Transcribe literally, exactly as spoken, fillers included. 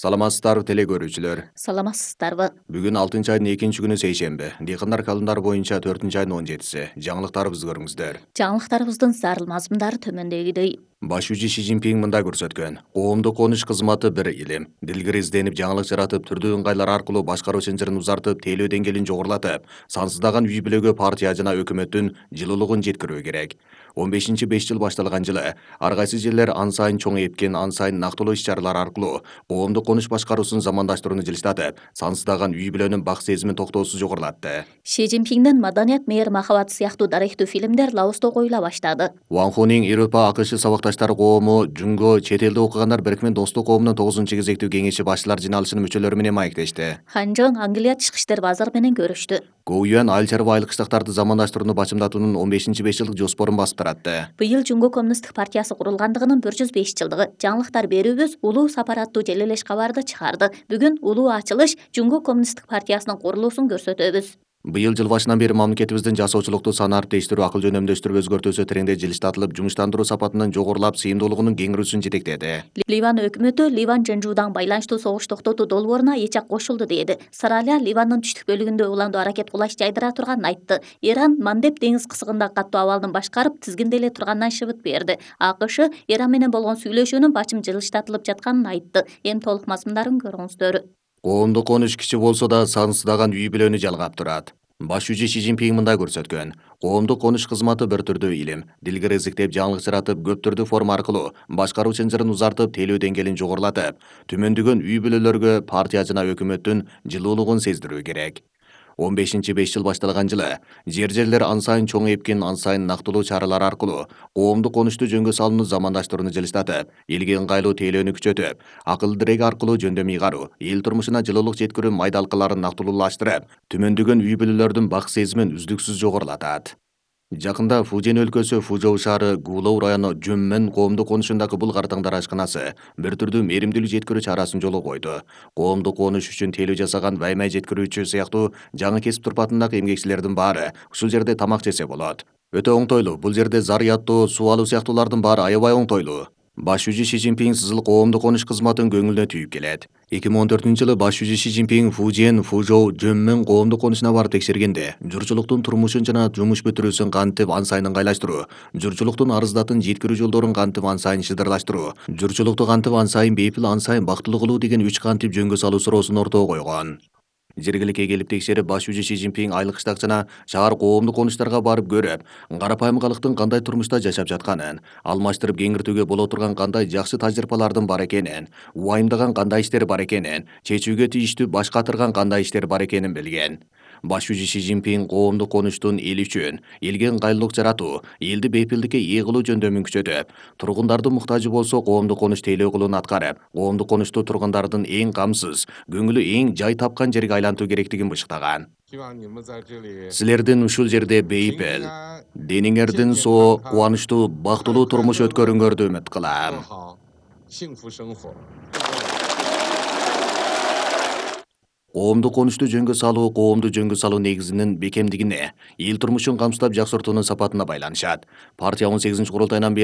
Саламатсыздарбы теле көрүүчүлөр. Саламатсыздарбы. Бүгүн алтынчы айдын экинчи күнү сейшемби. Дыйкандар календарь боюнча төртүнчү айдын он жетиси. Жаңылыктарыбызды көрүңүздөр. Жаңылыктарыбыздын зарыл мазмундары төмөндөгүдөй. Башчы Си Цзиньпин мындай көрсөткөн: коомдук конуш кызматы бир илим. Дилгир изденип, жаңылык жаратып, түрдүү ыңгайлар аркылуу башкаруу чынжырын узартып, тейлөө деңгээлин жогорулатып, сансыздаган үй бүлөгө партия жана өкмөттүн жылуулугун жеткирүү керек. он бешинчи беш жыл башталган жылы ар кайсы жерлер ан сайын чоң эпкен, ан сайын нактылуу иш-чаралар аркылуу коомдук конуш башкаруусун замандаштырууну жылыштатып, сансыздаган үй бүлөнүн бак сезимин токтоосуз жогорулатты. Си Цзиньпиндин «Маданият, мээр, махабат» сыяктуу дарыктуу фильмдер Лаоста коюла баштады. Ван Хунин Европа АКШ сабакташтары коому Жунго чет элде окугандар бирикме достук коомунун тогузунчу кезектүү кеңеши башчылар жыйналышынын мүчөлөрү менен маектешти. Хан Чжон Англия тышкы иштер вазыры менен көрүштү. Гоу Юань айыл чарба айыл кыштактарды замандаштырууну бачымдатуунун он бешинчи беш жылдык жоспорун басып таратты. Быйыл Жунго коммунисттик партиясы курулгандыгынын бир жүз беш жылдыгы. Жаңылыктар берүүбүз улуу сапар аттуу желелеш кабарды чыгарды. Бүгүн улуу ачылыш Жунго коммунисттик партиясынын курулуусун көрсөтөбүз. Быйыл жыл башынан бери мамлекетибиздин жасоочулукту сан ариптештирүү, акыл жөнөмдөштүрүү өзгөртүүсү тренде жылыштатылып, жумуштандыруу сапатынын жогорулап, сыйымдуулугунун кеңирүүсүн жетектеди. Ливан өкмөтү Ливан Жэнжудан байланыштуу согуш токтотуу долбооруна эч жак кошулду деди. Саралия Ливандын түштүк бөлүгүндө уландуу аракет кулаш жайдыра турганын айтты. Иран Мандеб деңиз кысыгындагы каттуу абалдын башкарып, тизгинделе турганынан шыбыт берди. АКШ Иран менен болгон сүйлөшүүнүн бачым жылыштатылып жатканын айтты. Эми толук мазмундарын көрүңүздөр. Коомдук конуш кичи болсо да сансыздаган үй бүлөнү жалгап турат. Башчы Си Цзиньпин мындай көрсөткөн: коомдук конуш кызматы бир түрдүү илим. Дилгир изиктеп, жаңылык жаратып, көп түрдүү форма аркылуу башкаруу чынжырын узартып, тейлөө деңгээлин жогорулатып, төмөндөгөн үй бүлөлөргө партия жана өкмөттүн жылуулугун сездирүү керек. он бешинчи беш жыл башталган жылы жер жерлер ан сайын чоң эпкен, ан сайын нактылуу чаралар аркылуу коомдук конушту жөнгө салууну замандаштырууну жылыштатып, элге ыңгайлуу тейлөөнү күчөтүп, акыл дирег аркылуу жөндөм ыйгаруу, эл турмушуна жылуулук жеткирүү майдалкаларын нактылуулаштырып, төмөндөгөн үй бүлөлөрдүн бак сезимин үздүксүз жогорулатат. Жакында Фужен өлкөсү Фужоу шаары Гулоу району Жөнмөн коомдук конушундагы Булгар таңдар ашканасы бир түрдүү мээримдүүлүк жеткирүү чарасын жолго койду. Коомдук конуш үчүн тейлөө жасаган ваймай жеткирүүчү сыяктуу жаңы кесип турпатындагы эмгекчилердин баары ушул жерде тамак жесе болот. Өтө оңтойлуу, бул жерде зарыяттоо, суу алуу сыяктуулардын баары аябай оңтойлуу. Башчы Си Цзиньпин сызыл коомдук конуш кызматын көңүлүнө түйүп келет. эки миң он төртүнчү жылы башчы Си Цзиньпин Фужен, Фужоу, Жөнмөн коомдук конушуна барып текшергенде, журтчулуктун турмушун жана жумуш бүтүрүүсүн кантип ан сайын ыңгайлаштыруу, журтчулуктун арыздатын жеткирүү жолдорун кантип ан сайын шыдырлаштыруу, журтчулукту кантип ан сайын бейпил, ан сайын бактылуу кылуу деген үч кантип жөнгө салуу суроосун ортого койгон. Жергиликке келип текшерип, башчы Си Цзиньпин айыл кыштак жана шаар коомдук конуштарга барып көрүп, карапайым калктын кандай турмушта жашап жатканын, алмаштырып кеңиртүүгө боло турган кандай жакшы тажрыйбалардын бар экенин, убайымдаган кандай иштер бар экенин, чечүүгө тийиштүү баш катырган кандай иштер бар экенин билген. Башчы Си Цзиньпин коомдук конуштун эл үчүн, элге ыңгайлуулук жаратуу, элди бейпилдикке ээ кылуу жөндөмүн күчөтүп, тургундардын муктажы болсо коомдук конуш тейлөө кылууну аткарып, коомдук конушту тургундардын эң камсыз, көңүлү эң жай тапкан жерге айлантуу керектигин бышыктаган. Силердин ушул жерде бейпил, дениңердин соо, кубанычтуу, бактылуу турмуш өткөрүүңөрдү үмүт кылам. Коомдук конушту жөнгө салуу коомду жөнгө салуу негизинин бекемдигине, эл турмушун камсыздап жакшыртуунун сапатына байланышат. Партия он сегизинчи курултайынан бери